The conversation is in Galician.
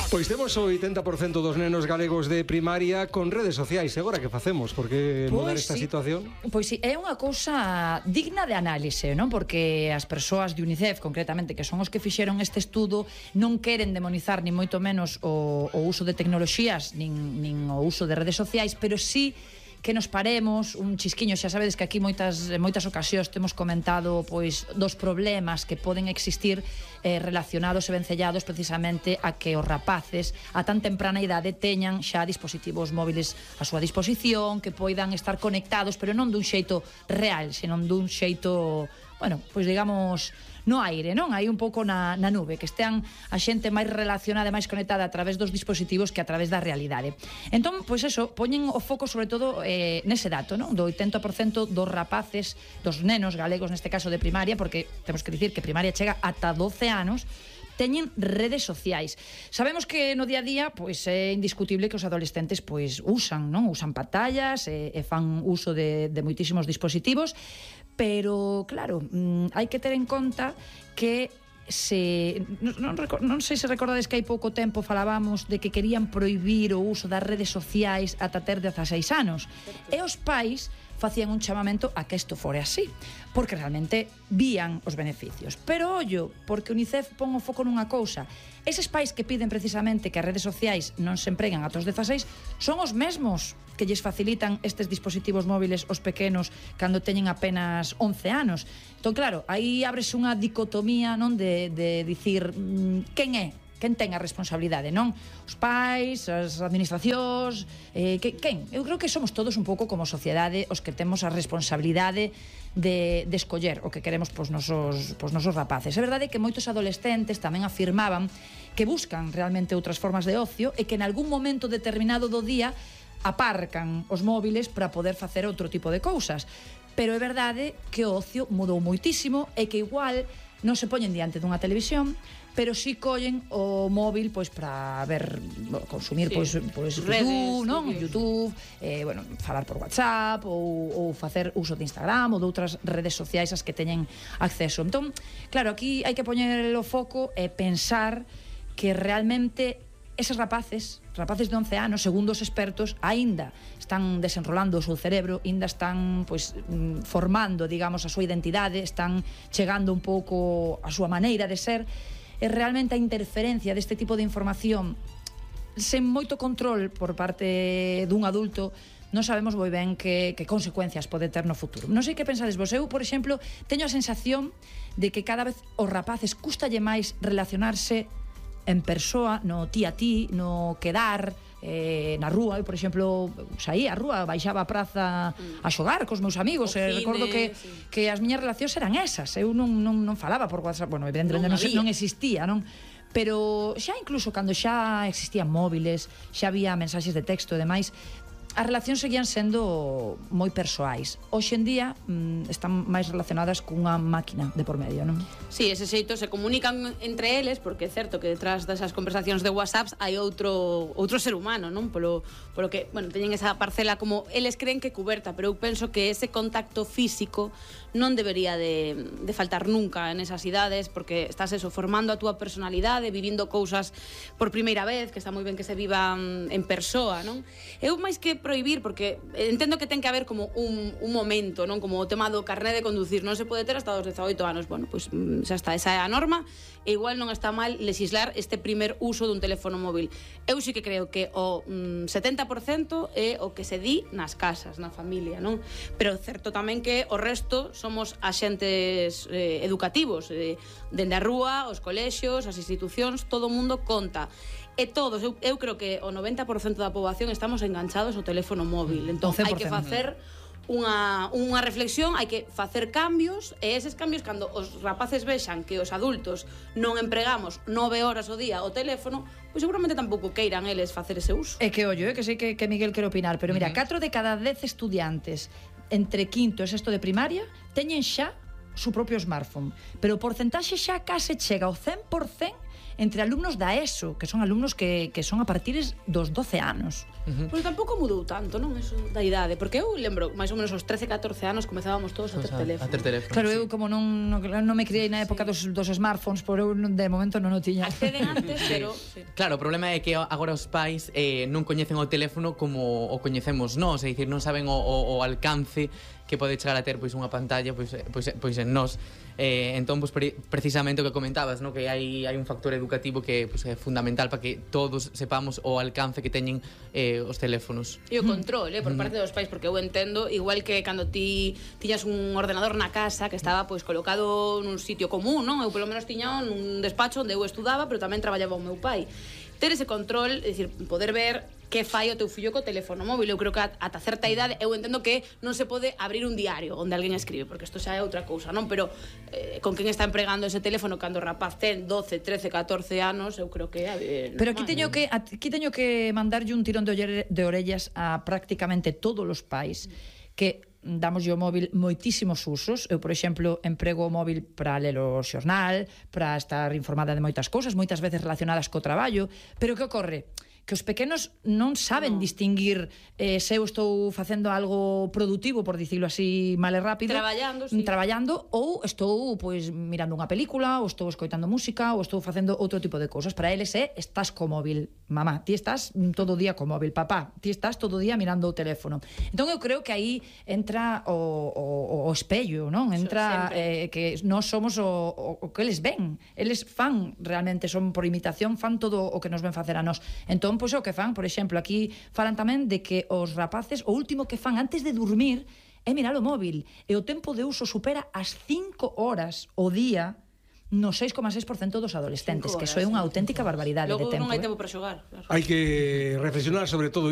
Pois temos o 80% dos nenos galegos de primaria con redes sociais. E agora que facemos? Por que mudar esta situación? Pois sí, é unha cousa digna de análise, non? Porque as persoas de UNICEF, concretamente, que son os que fixeron este estudo, non queren demonizar ni moito menos o uso de tecnoloxías nin o uso de redes sociais, pero sí que nos paremos un chisquiño. Xa sabedes que aquí moitas ocasións temos comentado pois dos problemas que poden existir relacionados e vencellados precisamente a que os rapaces a tan temprana idade teñan xa dispositivos móviles a súa disposición, que poidan estar conectados, pero non dun xeito real, senón dun xeito, bueno, pois digamos no aire, non? Aí un pouco na nube, que estean a xente máis relacionada e máis conectada a través dos dispositivos que a través da realidade. Entón, pois eso, poñen o foco sobre todo nese dato, non? Do 80% dos rapaces, dos nenos galegos, neste caso de primaria, porque temos que dicir que primaria chega ata 12 anos, teñen redes sociais. Sabemos que no día a día pois é indiscutible que os adolescentes pois usan, non? Usan pantallas e fan uso de moitísimos dispositivos, pero claro, hai que ter en conta que non sei se recordades que hai pouco tempo falábamos de que querían prohibir o uso das redes sociais ata ter 16 anos. E os pais facían un chamamento a que isto fore así, porque realmente vían os beneficios. Pero ollo, porque UNICEF pon o foco nunha cousa: eses pais que piden precisamente que as redes sociais non se empreguen ata os 16 son os mesmos que lles facilitan estes dispositivos móviles aos pequenos cando teñen apenas 11 anos. Entón, claro, aí ábrese unha dicotomía, non, de dicir quen ten a responsabilidade, non? Os pais, as administracións, quen? Eu creo que somos todos un pouco como sociedade os que temos a responsabilidade de escoller o que queremos pos nosos rapaces. É verdade que moitos adolescentes tamén afirmaban que buscan realmente outras formas de ocio e que en algún momento determinado do día aparcan os móviles para poder facer outro tipo de cousas. Pero é verdade que o ocio mudou moitísimo e que igual non se poñen diante dunha televisión, pero si collen o móvil pois para ver, consumir pois YouTube, non? YouTube, bueno, falar por WhatsApp ou facer uso de Instagram ou de outras redes sociais as que teñen acceso. Entón, claro, aquí hai que poñer o foco e pensar que realmente eses rapaces de 11 anos, segundo os expertos, aínda están desenrolando o seu cerebro, aínda están pois formando, digamos, a súa identidade, están chegando un pouco a súa maneira de ser. E realmente a interferencia deste tipo de información sen moito control por parte dun adulto, non sabemos moi ben que consecuencias pode ter no futuro. Non sei que pensades vos. Eu, por exemplo, teño a sensación de que cada vez os rapaces custalle máis relacionarse en persoa, no ti a ti, no quedar na rúa. Eu, por exemplo, saí á rúa, baixaba a praza a xogar cos meus amigos, e recordo que as miñas relacións eran esas. Eu non falaba por WhatsApp, bueno, evidentemente non existía, non? Pero xa incluso cando xa existían móviles, xa había mensaxes de texto e demais, as relacións seguían sendo moi persoais. Hoxe en día están máis relacionadas cunha máquina de por medio, non? Sí, ese xeito se comunican entre eles, porque é certo que detrás desas conversacións de WhatsApp hai outro ser humano, non? Polo que, bueno, teñen esa parcela como eles creen que cuberta, pero eu penso que ese contacto físico non debería de faltar nunca en esas idades, porque estás eso, formando a túa personalidade, vivindo cousas por primeira vez, que está moi ben que se vivan en persoa, non? Eu máis que prohibir, porque entendo que ten que haber como un momento, non? Como o tema do carné de conducir, non se pode ter hasta os 18 anos. Bueno, pois xa está, esa é a norma, e igual non está mal legislar este primer uso dun teléfono móvil. Eu sí que creo que o 70% é o que se di nas casas, na familia, non? Pero certo tamén que o resto somos axentes educativos, dende a rúa, os colexios, as institucións, todo o mundo conta. E todos, eu creo que o 90% da poboación estamos enganchados ao teléfono móvil. Entón, hai que facer unha reflexión, hai que facer cambios, e eses cambios, cando os rapaces vexan que os adultos non empregamos 9 horas ao día o teléfono, pois seguramente tampouco queiran eles facer ese uso. É que ollo, que sei que Miguel quere opinar, pero mira, 4 de cada 10 estudiantes entre quinto e sexto de primaria teñen xa su propio smartphone, pero o porcentaxe xa case chega ao 100%. entre alumnos da ESO, que son alumnos que son a partir dos 12 anos. Pois tampouco mudou tanto, non? Eso da idade, porque eu lembro, máis ou menos aos 13, 14 anos comezábamos todos a ter teléfono. Claro, eu como non me criei na época dos smartphones, por eu de momento non o tiña. Acceden antes, pero... Claro, o problema é que agora os pais non coñecen o teléfono como o coñecemos nós, é dicir, non saben o alcance que pode chegar a ter pois unha pantalla pois en nós. Entón, pois, precisamente o que comentabas, no? Que hai un factor educativo que pois, é fundamental para que todos sepamos o alcance que teñen os teléfonos. E o control, por parte dos pais, porque eu entendo, igual que cando ti tiñas un ordenador na casa que estaba pois colocado nun sitio común, non? Eu polo menos tiña nun despacho onde eu estudaba, pero tamén traballaba o meu pai. Ter ese control, é dicir, poder ver que fai o teu fillo co teléfono móvil. Eu creo que ata certa idade eu entendo que non se pode abrir un diario onde alguén escribe, porque isto xa é outra cousa, non? Pero con quen está empregando ese teléfono cando o rapaz ten 12, 13, 14 anos, eu creo que é pero aquí teño que mandarlle un tirón de orellas a prácticamente todos os pais que damos o móvil moitísimos usos. Eu, por exemplo, emprego o móvil para ler o xornal, para estar informada de moitas cousas, moitas veces relacionadas co traballo, pero que ocorre? Que os pequenos non saben distinguir se eu estou facendo algo productivo, por dicilo así mal e rápido, traballando, ou estou pois mirando unha película, ou estou escoitando música, ou estou facendo outro tipo de cousas. Para eles estás co móvil, mamá, ti estás todo o día co móvil, papá, ti estás todo o día mirando o teléfono. Entón eu creo que aí entra o espello, non? Entra que nós somos o que eles ven. Eles fan realmente, son por imitación, fan todo o que nos ven facer a nós. Entón, pois o que fan, por exemplo, aquí falan tamén de que os rapaces o último que fan antes de dormir é mirar o móvil, e o tempo de uso supera as 5 horas o día no 6,6% dos adolescentes, que iso é unha auténtica barbaridade de tempo. Logo non hai tempo para xogar. Hai que reflexionar sobre todo